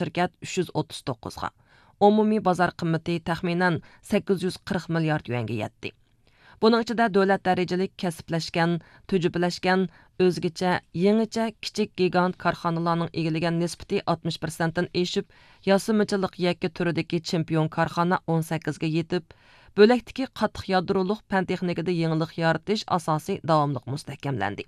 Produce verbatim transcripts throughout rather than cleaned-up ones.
شىركەت ئۈچ يۈز ئوتتۇز توققۇزغا، ئومۇمىي بازار قىممىتى تەخمىنەن سەككىز يۈز قىرىق مىليارد يۈەنگە يەتتى. بۇنىڭ ئىچىدە دۆلەت دەرىجىلىك كەسىپلەشكەن، تۈجۈپىلەشكەن، ئۆزگىچە، يېڭىچە، كىچىك گىگانت كارخانىلارنىڭ ئىگىلىگەن نىسبىتى ئاتمىش پىرسەنتتىن ئېشىپ، ياسىمىچىلىق يەككە تۈرىدىكى چېمپىيون كارخانا ئون سەككىزگە يېتىپ، بۆلەكتىكى قاتتىق يادرولۇق پەن تېخنىكىدا يېڭىلىق يارىتىش ئاساسى داۋاملىق مۇستەھكەملەندى.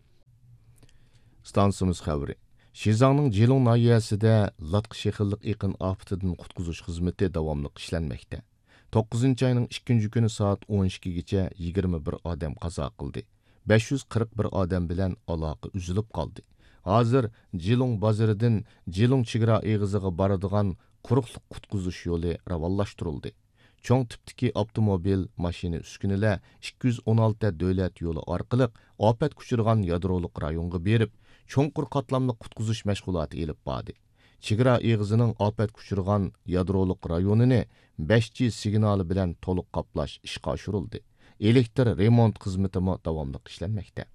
ئىستانسىمىز خەۋىرى. شىزاڭنىڭ جىلۇڭ ناھىيەسىدە لاتقا شېخىللىق ئېقىن ئاپىتىدىن قۇتقۇزۇش خىزمىتى داۋاملىق ئىشلەنمەكتە. توققۇزىنچى ئاينىڭ ئىككىنچى كۈنى سائەت ئون ئىككىگىچە يىگىرمە بىر ئادەم قازا قىلدى. بەش يۈز قىرىق بىر ئادەم بىلەن ئالاقە ئۈزۈلۈپ قالدى. ھازىر جىلۇڭ بازىرىدىن جىلۇڭ چېگرا ئېغىزىغا بارىدىغان قۇرۇقلۇق قۇتقۇزۇش يولى راۋانلاشتۇرۇلدى. چوڭ تىپتىكى ئاپتوموبىل، ماشىنا، ئۈسكۈنىلەر ئىككى يۈز ئون ئالتە دۆلەت يولى ئارقىلىق ئاپەتكە ئۇچرىغان يادرولۇق رايونغا بېرىپ، چوڭقۇر قاتلاملىق قۇتقۇزۇش مەشغۇلاتى ئېلىپ باردى. چېگرا ئېغىزىنىڭ ئاپەتكە ئۇچرىغان يادرولۇق رايونىنى بەش جى سىگنالى بىلەن تولۇق قاپلاش ئىشقا ئاشۇرۇلدى. ئېلېكتر رېمونت خىزمىتىمۇ داۋاملىق ئىشلەنمەكتە.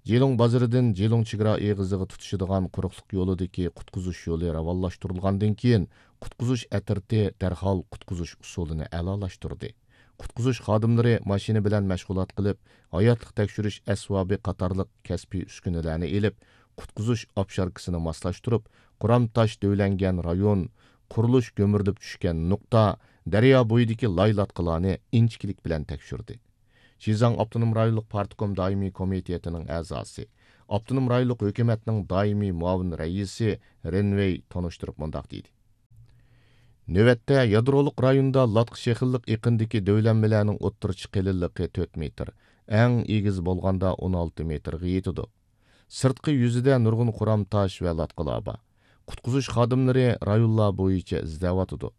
جىلۇڭ بازىرىدىن جىلۇڭ چېگرا ئېغىزىغا تۇتىشىدىغان قۇرۇقلۇق يولىدىكى قۇتقۇزۇش يولى راۋانلاشتۇرۇلغاندىن كېيىن، قۇتقۇزۇش ئەترىتى دەرھال قۇتقۇزۇش ئۇسۇلىنى ئەلالاشتۇردى. قۇتقۇزۇش خادىملىرى ماشىنا بىلەن مەشغۇلات قىلىپ، ھاياتلىق تەكشۈرۈش ئەسۋابى قاتارلىق كەسپىي ئۈسكۈنىلەرنى ئېلىپ، قۇتقۇزۇش ئاپشاركىسىنى ماسلاشتۇرۇپ، قۇرام تاش دۆۋىلەنگەن رايون، قۇرۇلۇش گۈمۈرۈلۈپ چۈشكەن نۇقتا، دەريا بويىدىكى لاي-لاتقىلارنى ئىنچىكىلىك بىلەن تەكشۈردى. شىزاڭ ئاپتونوم رايونلۇق پارتكوم دائىمىي كومىتېتىنىڭ ئەزاسى، ئاپتونوم رايونلۇق ھۆكۈمەتنىڭ دائىمىي مۇئاۋىن رەئىسى رېن ۋېي تونۇشتۇرۇپ مۇنداق دېدى: نۆۋەتتە يادرولۇق رايوندا لاتقا شېخىللىق ئېقىندىكى دۆۋىلەنمىلەرنىڭ ئوتتۇرىچە قېلىنلىقى تۆت مېتىر، ئەڭ ئېگىز بولغاندا ئون ئالتە مېتىرغا يېتىدۇ. سىرتقى يۈزىدە نۇرغۇن قۇرام تاش ۋە لاتقىلار بار. قۇتقۇزۇش خادىملىرى رايونلار بويىچە ئىزدەۋاتىدۇ.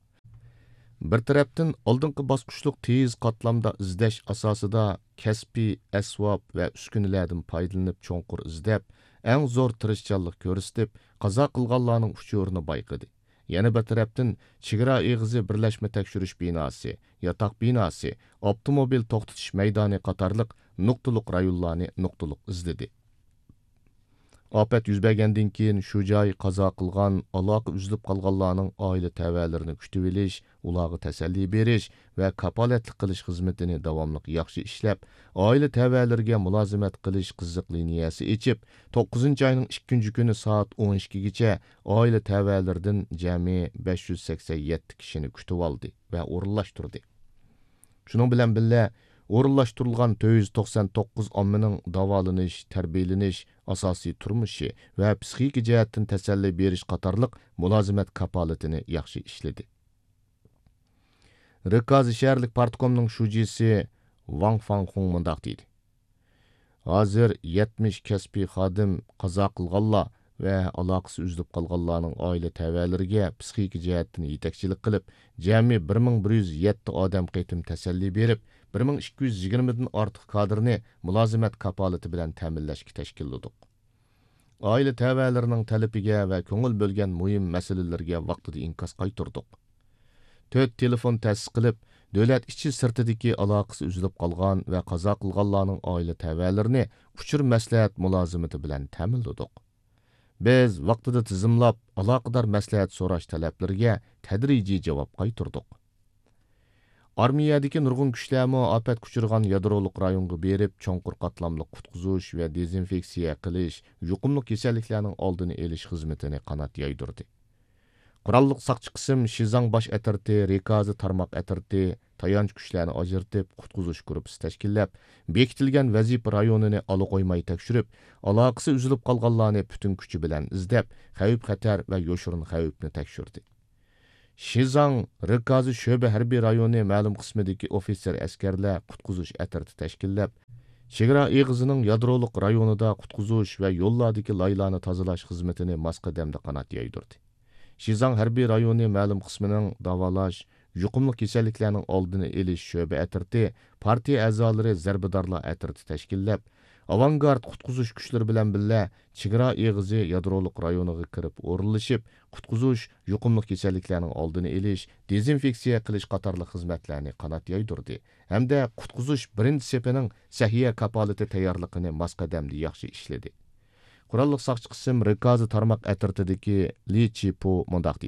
بىر تەرەپتىن، ئالدىنقى باسقۇچلۇق تېيىز قاتلامدا ئىزدەش ئاساسىدا كەسپىي ئەسۋاب ۋە ئۈسكۈنىلەردىن پايدىلىنىپ چوڭقۇر ئىزدەپ، ئەڭ زور تىرىشچانلىق كۆرسىتىپ، قازا قىلغانلارنىڭ ئۇچۇرىنى بايقىدى. يەنە بىر تەرەپتىن، چېگرا ئېغىزى بىرلەشمە تەكشۈرۈش بىناسى، ياتاق بىناسى، ئاپتوموبىل توختىتىش مەيدانى قاتارلىق نۇقتىلىق رايونلارنى نۇقتىلىق ئىزدىدى. ئاپەت يۈز بەرگەندىن كېيىن، شۇ جاي قازا قىلغان، ئالاقە ئۈزۈلۈپ قالغانلارنىڭ ئائىلە تەۋەلىرىنى كۈتۈۋېلىش، ئۇلارغا تەسەللى بېرىش ۋە كاپالەتلىك قىلىش خىزمىتىنى داۋاملىق ياخشى ئىشلەپ، ئائىلە تەۋەلىرىگە مۇلازىمەت قىلىش قىزىق لىنىيەسى ئېچىپ، توققۇزىنچى ئاينىڭ ئىككىنچى كۈنى سائەت ئون ئىككىگىچە ئائىلە تەۋەلىرىدىن جەمئىي بەش يۈز سەكسەن يەتتە كىشىنى كۈتۈۋالدى ۋە ئورۇنلاشتۇردى. شۇنىڭ بىلەن بىللە، ئورۇنلاشتۇرۇلغان تۆت يۈز توقسان توققۇز ئاممىنىڭ داۋالىنىش، تەربىيەلىنىش، ئاساسىي تۇرمۇشى ۋە پسىخىكا جەھەتتىن تەسەللى بېرىش قاتارلىق مۇلازىمەت كاپالىتىنى ياخشى ئىشلىدى. رىكازى شەھەرلىك پارتكومنىڭ شۇجىسى ۋاڭ فاڭخۇڭ مۇنداق دېدى: ھازىر يەتمىش كەسپىي خادىم قازا قىلغانلار ۋە ئالاقىسى ئۈزۈلۈپ قالغانلارنىڭ ئائىلە تەۋەلىرىگە پسىخىكا جەھەتتىن يېتەكچىلىك قىلىپ، جەمئىي بىر مىڭ بىر يۈز يەتتە ئادەم قېتىم تەسەللى بېرىپ، بىر مىڭ ئىككى يۈز يىگىرمىدىن ئارتۇق كادىرنى مۇلازىمەت كاپالىتى بىلەن تەمىنلەشكە تەشكىللىدۇق. ئائىلە تەۋەلىرىنىڭ تەلىپىگە ۋە كۆڭۈل بۆلگەن مۇھىم مەسىلىلىرىگە ۋاقتىدا ئىنكاس قايتۇردۇق. تۆت تېلېفون تەسىس قىلىپ، دۆلەت ئىچى سىرتىدىكى ئالاقىسى ئۈزۈلۈپ قالغان ۋە قازا قىلغانلارنىڭ ئائىلە تەۋەلىرىنى ئۇچۇر مەسلىھەت مۇلازىمىتى بىلەن تەمىنلىدۇق. بىز ۋاقتىدا تىزىملاپ، ئالاقىدار مەسلىھەت سوراش تەلەپلىرىگە تەدرىجىي جاۋاب قايتۇردۇق. ئارمىيەدىكى نۇرغۇن كۈچلەرمۇ ئاپەتكە ئۇچرىغان يادرولۇق رايونغا بېرىپ، چوڭقۇر قاتلاملىق قۇتقۇزۇش ۋە دېزىنفېكسىيە قىلىش، يۇقۇملۇق كېسەللىكلەرنىڭ ئالدىنى ئېلىش خىزمىتىنى قانات يايدۇردى. قوراللىق ساقچى قىسىم شىزاڭ باش ئەترىتى، رىكازى تارماق ئەترىتى، تايانچ كۈچلەرنى ئاجرىتىپ، قۇتقۇزۇش گۇرۇپپىسى تەشكىللەپ، بېكىتىلگەن ۋەزىپە رايونىنى ئالا قويماي تەكشۈرۈپ، ئالاقىسى ئۈزۈلۈپ قالغانلارنى پۈتۈن كۈچى بىلەن ئىزدەپ، خەۋپ-خەتەر ۋە يوشۇرۇن خەۋپنى تەكشۈردى. شىزاڭ رىكازى شۆبە ھەربىي رايونى مەلۇم قىسمىدىكى ئوفىتسېر ئەسكەرلەر قۇتقۇزۇش ئەترىتى تەشكىللەپ، چېگرا ئېغىزىنىڭ يادرولۇق رايونىدا قۇتقۇزۇش ۋە يوللاردىكى لايلارنى تازىلاش خىزمىتىنى ماس قەدەمدە قانات يايدۇردى. شىزاڭ ھەربىي رايونى مەلۇم قىسمىنىڭ داۋالاش، يۇقۇملۇق كېسەللىكلەرنىڭ ئالدىنى ئېلىش شۆبە ئەترىتى، پارتىيە ئەزالىرى زەربىدارلار ئەترىتى تەشكىللەپ، ئاۋانگارت قۇتقۇزۇش كۈچلىرى بىلەن بىللە، چېگرا ئېغىزى يادرولۇق رايونىغا كىرىپ ئورۇنلىشىپ، قۇتقۇزۇش، يۇقۇملۇق كېسەللىكلەرنىڭ ئالدىنى ئېلىش، دېزىنفېكسىيە قىلىش قاتارلىق خىزمەتلەرنى قانات يايدۇردى ھەمدە قۇتقۇزۇش بىرىنچى سېپىنىڭ سەھىيە كاپالىتى تەييارلىقىنى ماس قەدەمدە ياخشى ئىشلىدى. قوراللىق ساقچى قىسىم رىكازى تارماق ئەترىتىدىكى لى چىپۇ مۇنداق